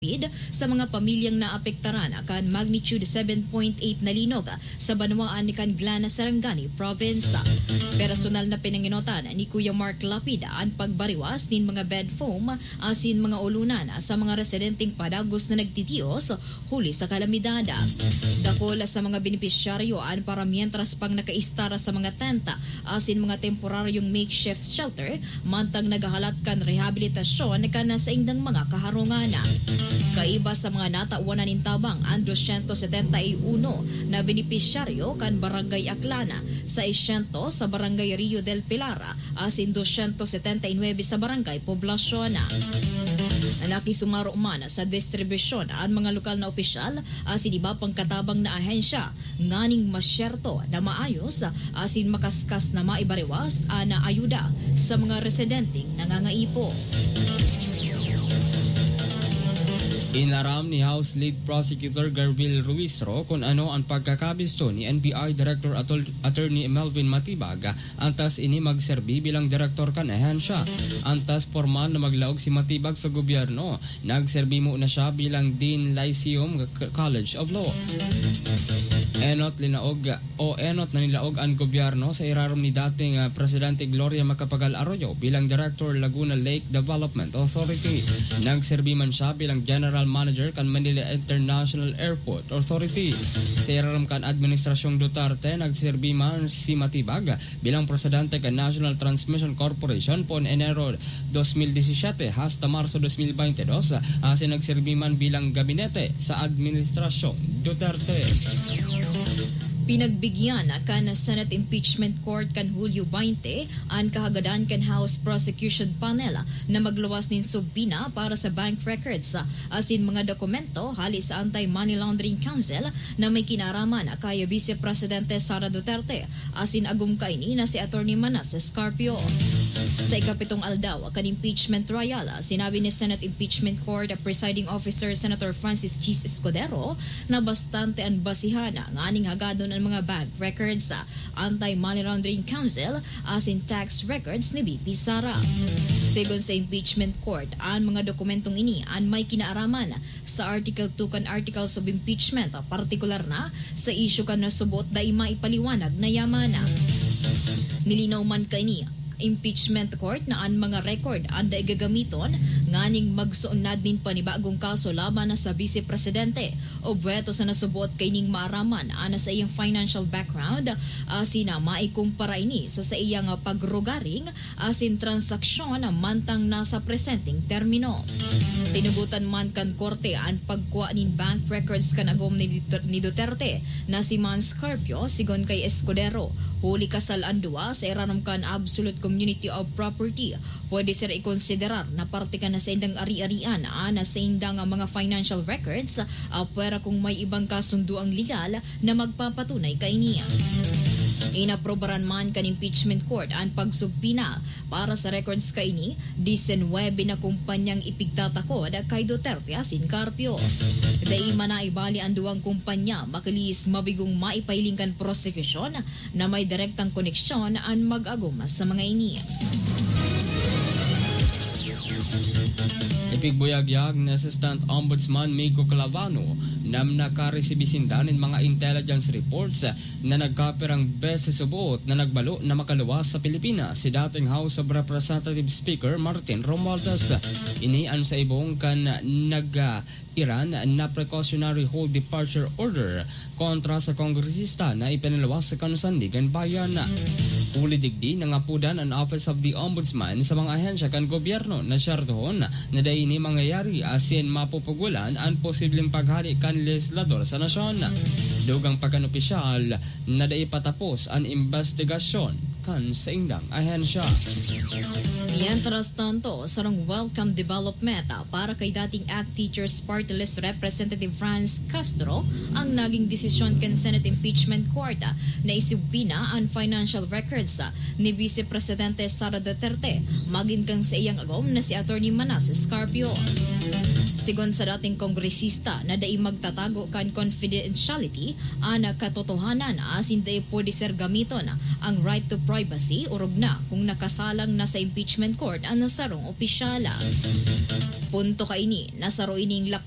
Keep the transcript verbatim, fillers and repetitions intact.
Lapid sa mga pamilyang naapektaran kan magnitude seven point eight na linog sa banwaan kan Glan, Sarangani Province. Personal na pinangenotan ni Kuya Mark Lapid an pagbariwas nin mga bed foam asin mga ulunan sa mga residenteng padagos na nagtitios huli sa kalamidad. Dakul sa mga benepisyaryo an paramientras pang nakaistar sa mga tent asin mga temporaryong makeshift shelter mantang naghahalat kan rehabilitasyon kan saindang mga kaharungan. Kaiba sa mga natawan na nin tabang, an dosyentos setenta y uno na benepisyaryo kan Barangay Aklan, seiscientos sa Barangay Rio del Pilar, asin dosyentos setenta y nuebe sa Barangay Poblacion. Nakisumaro man sa distribusyon an mga lokal na opisyal asin iba pang katabang na ahensya nganing masyerto na maayos asin makaskas na maibariwas an ayuda sa mga residenteng nangangaipo. Inaram ni House Lead Prosecutor Garville Ruizro kun ano an pagkakabisto ni N B I Director Atol-, Attorney Melvin Matibag, antas ini magserbi bilang direktor kan ahensya. Antas pormal na maglaog si Matibag sa gobyerno, nagserbi muna siya bilang Dean Lyceum K-, College of Law. Enot linaog o enot na nilaog an gobyerno sa irarom ni dating, ah, Presidente Gloria Macapagal Arroyo bilang Director, Laguna Lake Development Authority. Nagserbi man siya bilang General Manager kan Manila International Airport Authority. Sa irarom kan Administrasyong Duterte, nagserbi man si Matibag bilang Presidente kan National Transmission Corporation poon Enero dos mil disisiete hasta Marso dos mil baynte dos, asin nagserbi man bilang gabinete sa Administrasyong Duterte. Pinagbigyan kan Senate Impeachment Court kan Hulyo baynte an kahagadan kan House Prosecution Panel na magluwas nin subpoena para sa bank records asin mga dokumento hali sa Anti-Money Laundering Council na may kinaaraman kay Vice Presidente Sara Duterte asin agom kaini na si Attorney Manases Carpio. Sa ikapitong aldaw kan impeachment trial, sinabi ni Senate Impeachment Court Presiding Officer Senator Francis Chiz Escudero na bastante an basihan nganing hagadon an mga bank records, Anti-Money Laundering Council asin tax records ni V P Sara. Segun sa impeachment court, an mga dokumentong ini an may kinaaraman sa Article two kan Articles of Impeachment, partikular na sa isyu kan nasuboot dai maipaliwanag na yaman. Nilinaw man kaini impeachment court na an mga record an dai gagamiton nganing magsuunad nin panibagong kaso laban na sa Vice Presidente, obheto sa nasuboot kaining maaraman an saiyang financial background, asin na maikumpara ini sa saiyang pagrugaring asin transaksyon mantang nasa presenteng termino. Tinugotan man kan korte an pagkua nin bank records kan agom ni Dut-, ni Duterte na si Mans Carpio, sigon kay Escudero. Huli kasal an duwa sa irarom kan absolute community of property, pwede sira ikonsiderar na parte kan saindang ari-arian an saindang mga financial records, apwera kung may ibang kasundoang legal na magpapatunay kaini. Inaprobaran man kan impeachment court an pagsubpoena para sa records kaini, disinwebe na kumpanyang ipigtatakod kay Duterte asin Carpio. Dai man naibali an duwang kumpanya, makilis mabigong maipahiling kan prosekusyon na may direktang koneksyon an mag-agom sa mga ini. Ipigbuyagyag ni Assistant Ombudsman Migo Clavano na nakaresibi sinda nin mga intelligence reports na nagkapirang beses suboot na nagbalo na makaluwas sa Pilipinas si dating House of Representatives Speaker Martin Romualdez. Ini an sa ibong kan nag-, ah, Iran na precautionary hold departure order kontra sa kongresista na ipinaluwas kan Sandigan Bayan. Huli digdi, nangapodan an Office of the Ombudsman sa mga ahensya kan gobyerno na syertohon na dai ini mangyayari asin mapupugulan an posibleng paghale kan legislador sa nasyon. Dugang pa kan opisyal na dai pa tapos an imbestigasyon kan saindang ahensya. Mientras tanto, sarong welcome development para kay dating ACT Teachers Party List Representative Franz Castro ang naging desisyon kan Senate Impeachment Court na isubpoena an financial records ni Vice Presidente Sara Duterte magin kan saiyang agom na si Attorney Manases Carpio. Sigon sa dating kongresista na dai magtatago kan confidentiality an katotohanan asin dai pwede ser gamiton ang right to privacy, orog na kung nakasalang na sa impeachment court an sarong opisyal. Punto kaini na saro ining lakda